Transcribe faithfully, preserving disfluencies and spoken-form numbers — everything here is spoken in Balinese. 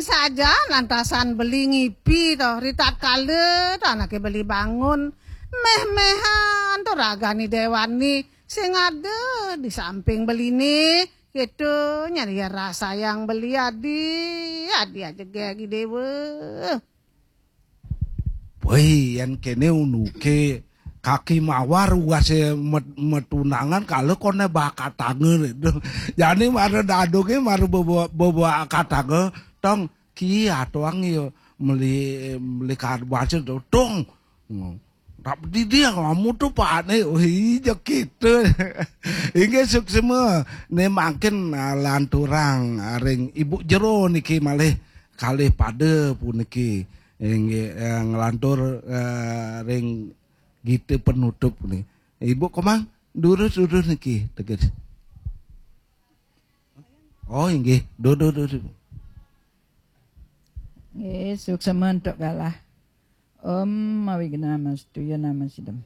Saja lantasan beli ngipi to, ritatkala to anake beli bangun, meh-mehan to ragane dewani sing ada di samping beline, gitu nyari rasa yang beli adi, adi aja gagi dewa. Woi, yen kene unuke kaki mawar uase met-, metunangan kalau kone bakatanga. Jane mara dadoke mara baba, baba katanga, "Tong, ki atoang yo meli, meli kadwace to, Tong." Tapi dia ngamu tuh pane, oh iya gitu. Inggih suksma, ne mangkin, ah, lanturang, ah, ring Ibu Jero niki malih kalih pada puniki. Inggih, eh, nglantur, eh, ring gita penutup nih. Ibu Komang, durus-durus niki, teges. Oh, inggih, durus-durus. Nggih, suksma antuk galah. Om Awighnamastuya Namasidam.